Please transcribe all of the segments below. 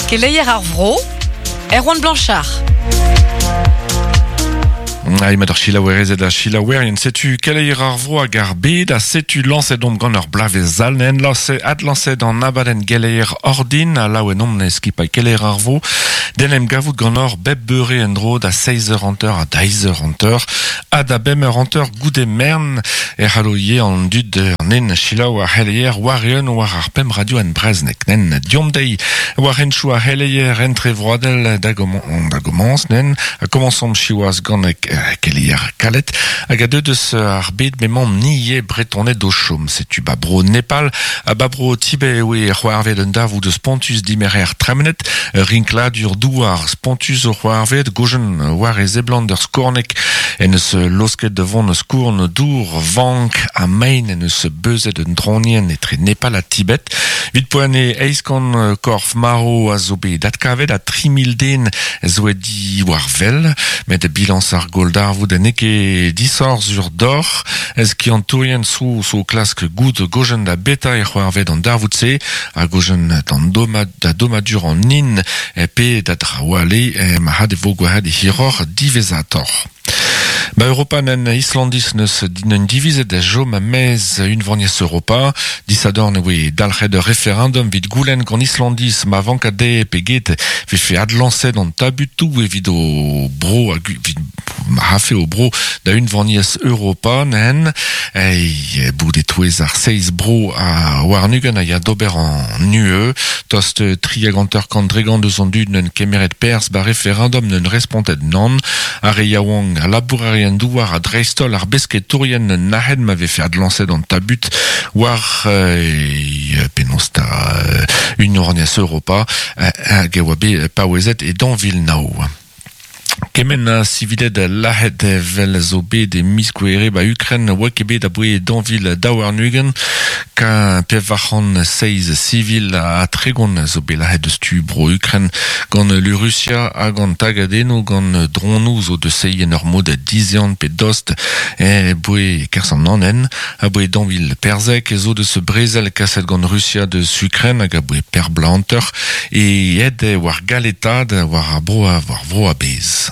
Keleier ar vro, Erwan Blanchard. Ah, mat ar selaouerezed ha selaouerien, setu keleier ar vro hag ar bed, ha setu lañset omp gant ur bloavezh all, nen lañset, adlañset an abadenn geleier ordin, ha laouen omp ne skipailh keleier ar vro, d'en em gavout ganeoc'h bep beure en-dro da seizh eur hanter ha da eizh eur hanter, ha da bemp eur hanter goude mern e c'hallo ivez an dud an nen selaou ar c'heleier war-eeun war ar pemp radio en brezhoneg. Nen deomp dezhi war henchoù ar c'heleier entrevroadel da da gomañs nen ha komañsomp siwazh gant keleier kalet hag a deu deus ar bed m'emaomp ni ivez Bretoned o chom. Setu ba bro Nepal ha ba bro Tibet e oe c'hoarvet un darvoud spontus dimerc'her tremenet, rinkladur douar spontus o c'hoarvet, gojen war e seblant ur skorneg en deus laosket da vont skourn dour vank ha mein en deus beuzet un draonienn etre Nepal ha Tibet. Evit poent eo eizh kant korf marv a zo bet adkavet ha 3000 den zo aet diwar wel. Met bilañs ar gwalldarvoud n'eo ket disoc'h sur deoc'h. Skiantourien zo zo klask goût gojen da beta e c'hoarvez an darvoud-se ha gojen d'an da dommadur an hin pe da draoù all eo marc'had e vo gwelet hiroc'h diwezhatoc'h. Ba Europa nen Islandiz neus un divizet da chom a-maez unvaniezh Europa. Disadorn e voe dalc'het ur referendum evit goulenn gant Islandiz ma vanka dezhe pe get vefe adlañset an tabutoù evit o bro hag evit ma rafe o bro da unvaniezh Europa nen e bout e-touez ar seizh bro a warn-ugent a ya d'ober an UE. Tost tri hag hanter-kant dregont eus an dud neunt kemeret perzh ba referendum neunt respontet nann. Ar re yaouank, al labourerien douar ha dreist-holl ar besketourien nac'het ma vefe adlañset an tabut war penaos 'ta Unvaniezh Europa hag e oa bet paouezet e 2009. Kement a siviled lazhet evel zo bet e miz Gouhere ba Ukren oa ket bet aboe 2022. Ka 407 sivil ha 30 zo bet lazhet deus tu bro Ukren gant lu Rusia hag an tagadennoù gant dronoù zo deus seiñ en ur mod dizehan pe dost aboe kerzh an anenn. Aboe 2014 zo deus brezel kaset gant Rusia deus Ukren hag aboe per bloaz hanter e aet war galetaat war ar bro war vro a-bezh.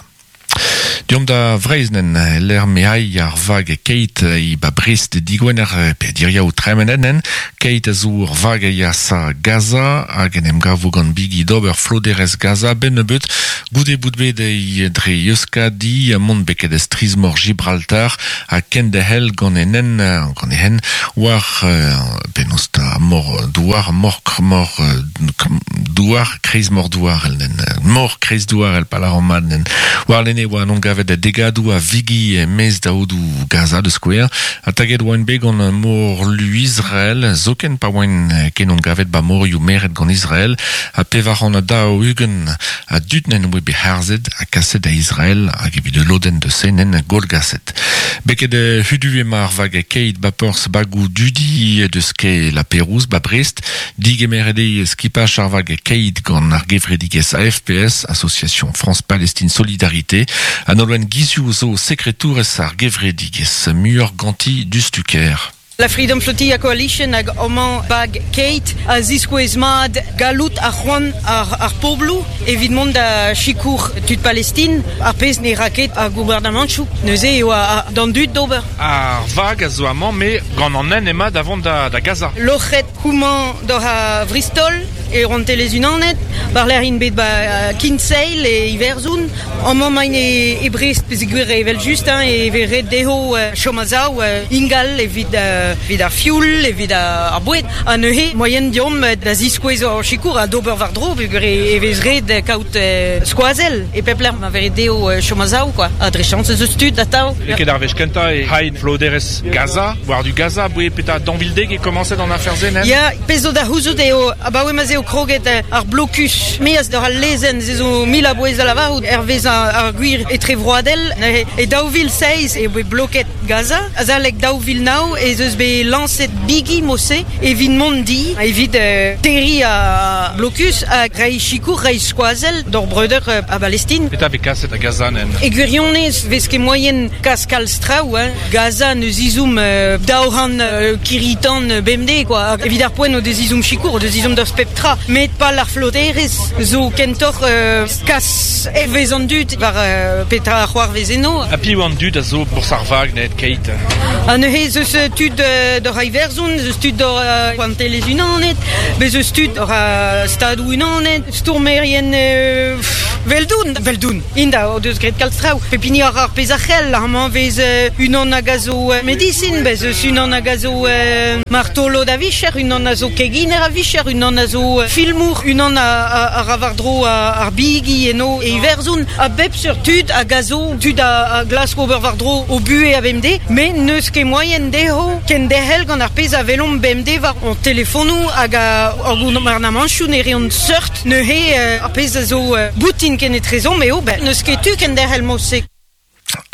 Deomp da Vreizh nen, lec'h m'eai ar vag Keit e ba Brest digwener pe diriaou tremenet nen. Keit a zo ur vag a ya sa Gaza hag en em gavo gant bigi d'ober floderezh Gaza benn nebeut goude bout bet e dre Euskadi mont beket strizh-mor Gibraltar ha kenderc'hel gant e nen gant e hent war penaos 'ta mor douar mor mor douar kreiz mor douarel nen mor kreiz douarel pa lâran mat nen warlene e oa en gavet degadoù a vigi e-maez da aodoù Gaza da skouer ha taget oant bet gant morlu Israel zoken pa oant ken on gavet ba morioù meret gant Israel ha 440 a dud n'en oa bet harzet ha kaset da Israel hag evit ul lodenn deus se n'en gwallgaset. Beket hudu emañ ar vag keit ba porzh bagoù dudi deus kae La Pérouse ba Brest. Digemeret eo skipaj ar vag keit gant ar gevredigezh AFPS, Association France Palestine Solidarité. Ha Nolwenn Guizioù zo sekretourez ar gevredigezh muioc'h ganti diouzhtu-kaer. La Freedom Flotilla Coalition hag amañ bag Kate a ziskouez mat galloud ha c'hoant ar pobloù evit mont da sikour tud Palestin, ar pezh ne ra ket ar gouarnamantoù. Neuze eo d'an dud d'ober. Ar vag a zo amañ, met gant an hent emañ da vont da Gaza. Loc'het houmañ doc'h a Vristol e Rouantelezh-Unanet, war-lerc'h int bet ba Kinsale e Iwerzhon. Amañ emaint e Brest peogwir evel-just e vez ret dezho chom a-sav ingal evit evit ar fioul, evit ar boued. Ha neuze moaien deomp da ziskouez hor sikour ha d'ober war-dro peogwir e vez ret kaout skoazell e pep lec'h ma vez ret dezho chom a-sav quoi. Ha dre chañs ez eus tud atav. N'eo ket ar wech kentañ e c'hain floderezh Gaza. War-du Gaza, aboe petra daou vil dek e komañset an afer-se, nen? Ya, pezh zo da c'houzout eo abaoe ma'z eo kroget ar blokus maez doc'h al lezenn, se zo mil a bouez da lavarout hervez ar gwir etrevroadel. Neuze, e 2007 eo bet bloket Gaza. Azalek 2009 ez eus deus bet lañset bigi mod-se evit mont di, evit terriñ ar blokus ha reiñ sikour, reiñ skoazell d'hor breudeur a Balestin. Petra vez kaset da Gaza nen? E gwirionez 'vez ket moaien kas kalz traoù, hein. Gaza n'eus ezhomm 200 kirri-tan bemdez, quoi. Evit ar poent o deus ezhomm sikour, o deus ezhomm deus pep tra. Met pal ar floterezh zo kentoc'h kas hervez an dud war petra a c'hoarvez eno. Ha piv an dud a zo bourzh ar vag net keit? Ha neuze ez eus tud doc'h Iwerzhon, ez eus tud doc'h Rouantelezh-Unanet, bez eus tud doc'h Stadoù-Unanet, stourmerien 'veldoun, 'veldoun. Int o deus graet kalz traoù. Pep hini a ra ar pezh a c'hell. Amañ 'vez unan hag a zo medisin, bez eus unan hag a zo martolod a vicher, unan a zo keginer a vicher, unan a zo filmour, unan a ra war-dro ar bigi eno e Iwerzhon. A bep seurt tud hag a zo tud a glask ober war-dro o buhez a-bemdez, met n'eus ket moaien dezho kenderc'hel gant ar pezh a welomp bemdez war hon telefonoù hag ar gouarnamantoù ne reont seurt. Neuze ar pezh a zo boutin kenetrezomp eo n'eus ket tu kenderc'hel mod-se.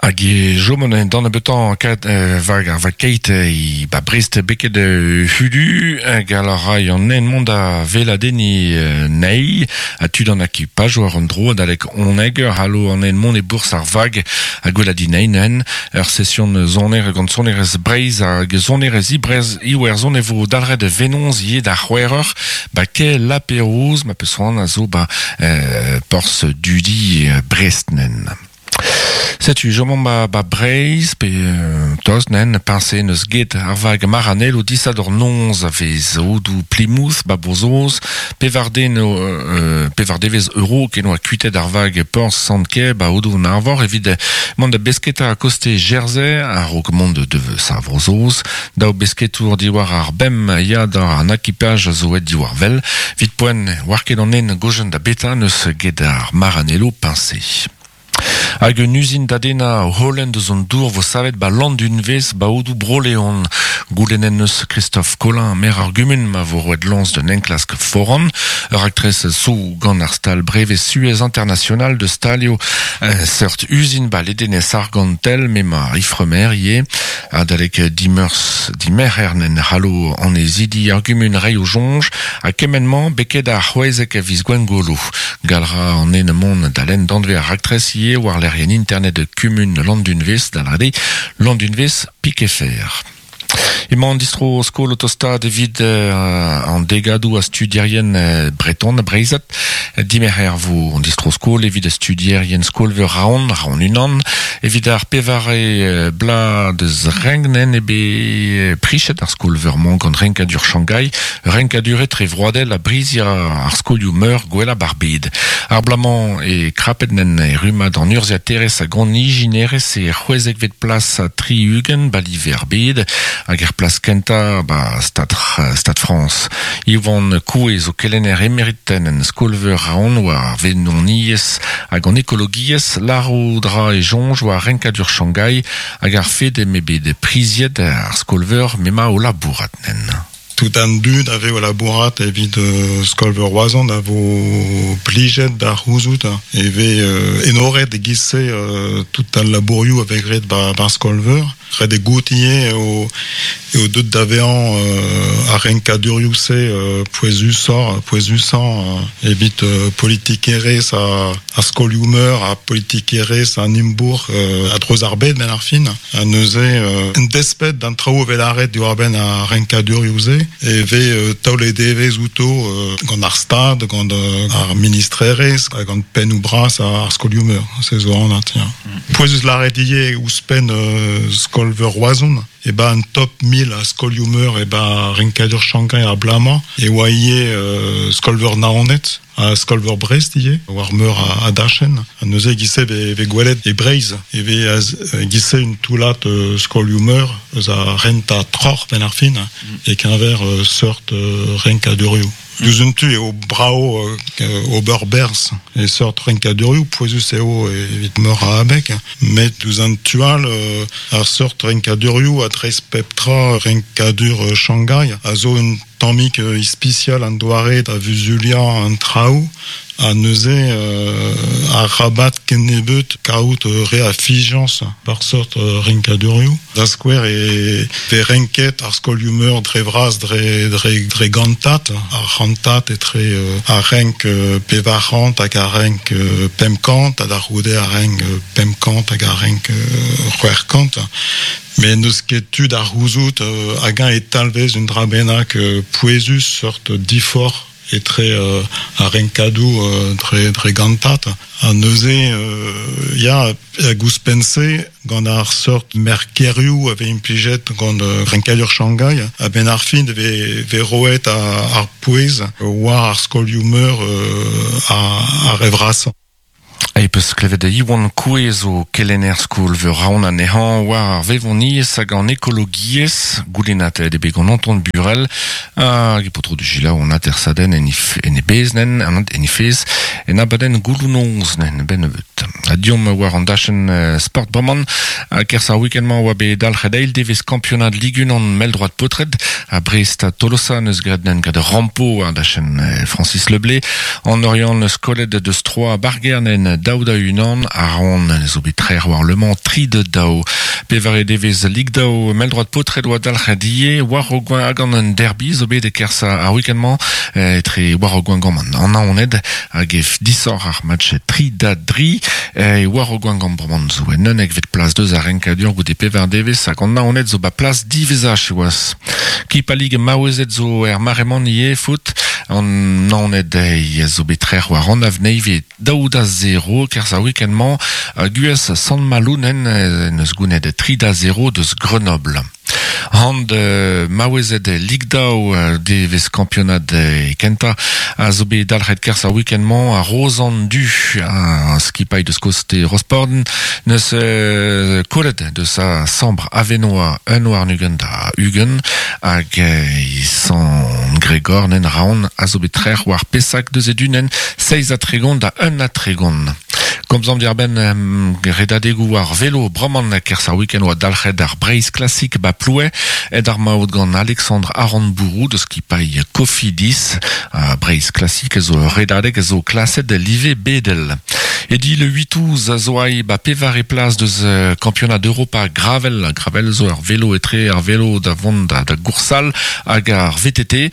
Hag e chom an d'an nebeutañ kat vag ar vag keit e ba Brest beket hudu hag a ray an nen mont da weladenniñ nei ha tud an akipaj war an dro adalek oneg eur c'hallo an nen mont e bourzh ar vag ha gweladiñ nen ur session soner gant sonerezh Breizh hag sonerezh Iwerzhon e vo dalc'het venoz ivez da c'hwec'h eur ba kae Laperouse ma peus c'hoant a zo ba porzh dudi Brest nen. Setu chomomp ba, ba Breizh pe tost nen peñse n'eus get ar vag Maranello disadorn noz a vez aodoù Plymouth ba Bro-Saoz pevar den pevar devezh euro ken oa kuitaet ar vag porzh Sant-Kêr ba aodoù an Arvor evit mont da besketa a-koste Jersey a-raok mont deus ar Vro-Saoz. Daou besketour diwar ar bemp ya da an akipaj a zo aet diwar wel. Evit poent 'oar ket an nen gojenn da beta n'eus get ar Maranello peñse. Hag un uzin da dennañ holen deus an dour vo savet 'ba Landunvez 'ba aodoù Bro-Leon. Goulennet 'neus Christophe Colin, maer ar gumun, ma vo roet lañs d'un enklask foran. Ur raktres zo gant ar stal brevez Suez International deus stalioù seurt uzin 'ba ledenez Argantel m'emañ Ifremer ivez. Adalek dimeurzh dimerc'her n'en c'hallo annezidi ar gumun reiñ o soñj ha kement-mañ beket ar c'hwezek a viz Gwengolo. Gall 'ra an den mont da lenn danvez ar raktres ivez war lec'hienn internet kumun Landunvez, da lâret eo Landunvez Pikefer. Emañ an distro-skol o tostaat evit an degadoù a studierien breton ha breizhat. Dimerc'her 'vo an distro-skol evit studierien skol-veur Raon, Raon unan. Evit ar pevare bloaz deus Rengnen eo bet prichet ar skol-veur-mañ gant renkadur Shanghai. Renkadur etrevroadel a briziañ ar skolioù-meur gwellañ 'bar bed. Ar bloaz-mañ e krapet nen e rummad an urzhiaterezh hag an ijinerezh e c'hwezekvet plas ha 60 'ba live ar bed hag er plas kentañ 'ba Stad Stad Frañs. Ivan Koue zo kelenner emeriten en skol-veur Raon war ar vennoniezh hag an ekologiezh. Lârout 'ra e soñj war renkadur Shanghai hag ar fed eo bet priziet ar skol-veur m'emañ o labourat nen. Tout an dud a vez o labourat evit Skol-veur Roazhon a vo plijet da c'houzout e vez enoret e-giz-se tout al labourioù a vez graet 'ba Skol-veur. Ret eo goût ivez eo eo deuet da vezañ ar renkadurioù-se pouezusoc'h pouezusañ evit politikerezh ar skolioù-meur ha politikerezh an imbourc'h a-dreuz ar bed 'benn ar fin. Ha neuze, en desped d'an traoù evel lâret diwar-benn ar renkadurioù-se, e vez taolet evezh outo gant ar Stad, gant ar ministrerezh ha gant pennoù bras ar skolioù-meur. Se zo anat, ya. Pouezus lâret ivez ouzhpenn skol-veur Roazhon, e ba an top 1000 a skolioù-meur e ba renkadur Shanghai ar bloaz-mañ e oa ivez skol-veur Naoned. Ha skol-veur Brest ivez, war meur a dachenn. Ha neuze e-giz-se e vez gwelet e Breizh e vez e-giz-se un toullad skolioù-meur eus ar rentañ troc'h benn ar fin e-keñver seurt renkadurioù. Diouzh un tu eo brav ober berzh e seurt renkadurioù, pouezus eo evit meur a abeg, met diouzh an tu all ar seurt renkadurioù a dreist pep tra renkadur Shanghai a zo un. tammig ispisial an doare da vuzuliañ an traoù ha neuze ar rabat kennebeut kaout re a fiziañs bar seurt renkadurioù. Da skouer e vez renket ar skolioù-meur dre vras dre, dre, dre gantat, ar c'hantat etre ar renk 400 hag ar renk 500 ha da c'houde ar renk 500 hag ar renk 600. Met n'eus ket tu da c'houzout hag-eñ e talvez un dra bennak pouezus seurt diforc'h etre ar renkadoù dre, dre gantat. Ha neuze, ya, hag ouzhpenn-se, gant ar seurt merkerioù a vez implijet gant renkadur Shanghai, a-benn ar fin e vez, vez roet ar pouez war ar skolioù-meur ar re vrasañ. E peus klevet Iwan Coué zo kelenner skol-veur Raon anezhañ war ar vevoniezh hag an ekologiezh goulennatet eo bet gant Anton Burel hag e paotr du selaou an atersadenn en en e bezh nen en e fezh en abadenn gouloù-noz nen ben nebeut. Ha diomp war an dachenn sport bremañ kerzh ar week-end-mañ oa bet dalc'het eil devezh kampionad Ligue 1 mell-droad paotred ha Brest ha Tolosa neus graet nen graet rampo war dachenn Francis Le Blé. An Oriant neus kollet deus 3 bargernen 2-1 a ran zo bet trec'h war Le Mans 3-2. Pevare devezh Ligue 2 mell-droad paotred oa dalc'het ivez war o gant an derby zo bet e-kerzh ar week-end-mañ etre war o gant an Naoned hag e disoc'h ar match 3-3 e war o gant bremañ zo en unnekvet plas deus ar renkadur goude pevar devezh hag an Naoned zo ba plas diwezhañ siwazh. Kipa Ligue maouezed zo er mare-mañ ivez foot an Naoned zo bet trec'h war an Avneive 2-0 kerzh ar week-end-mañ Guez Sant-Malounen neus gounet 3-0 deus Grenoble. Hand maouezed Ligue 2 devezh kampionad kentañ a zo bet dalc'het kerzh ar week-end-mañ a Rozan Du a skipailh deus koste Rosporden neus kollet deus a Sambr Avenoa un war 20 da 20 hag Sant Gregor nen raon a zo bet trec'h war Pesak deus e dunen 37 da 31. Komzomp diàr-benn redadegoù war velo bremañ kerzh ar week-end oa dalc'het ar Breizh Classic ba Ploue ed ar maout gant Alexandre Aranbourou deus skipailh Cofidis. Breizh Classic zo ur redadeg a zo klaset live bedel. Edi le 8 ouz a zo ai ba pevare plas deus kampionad Europa Gravel. Gravel zo ur velo etre ar velo da vont da, da goursal hag ar VTT.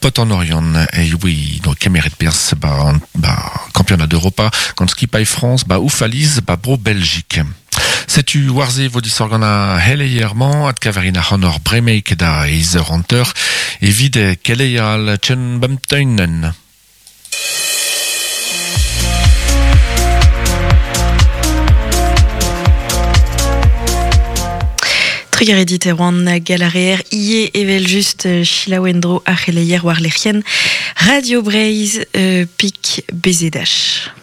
Pot an Oriant e oui no kemeret perzh ba, ba kampionad Europa gant skipailh France ba Oufaliz ba bro Belgique. Setu war-se vo disoc'h gant ar c'heleier-mañ adkaverin ac'hanoc'h bremaik da eizh eur hanter evit keleier al Chen Bamteunen. Trugarez dit Erwan Galareer ie evel just selaou en-dro ar c'heleier war lec'hienn Radio Breizh pik BZH.